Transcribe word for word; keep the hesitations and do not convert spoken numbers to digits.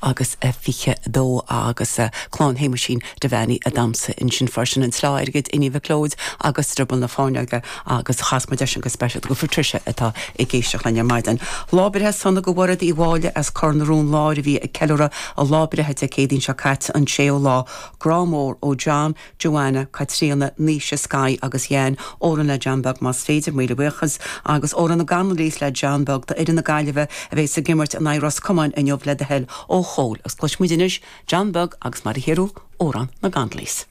agus fiche dó agus clann Shéamuisín Devaney a damsa ansin freisin an tSleá Airgid Iníon Mhic Leoid agus Drioball na Fáinleoige agus chas muid sin go speisialta go Patricia atá ag éisteacht linn ar maidin. Lá breithe sona do Mhairéad Uí Mháille as Cor na Rún Láir a bhí ag ceiliúradh a lá breithe Dé Céadaoin seo caite an séú lá grá mór ó John, Joanna, Caitríona, Naoise Sky agus Jan amhrán le John Beag más féidir míle buíochas agus amhrán na gConnolly's le John Beag d'fhoireann na Gaillimhe a bheas ag imirt in aghaidh Ros Comáin inniu le do thoil ó Chóil agus cloisfimid anois John Beag agus mar a chéile amhrán na gConnolly's.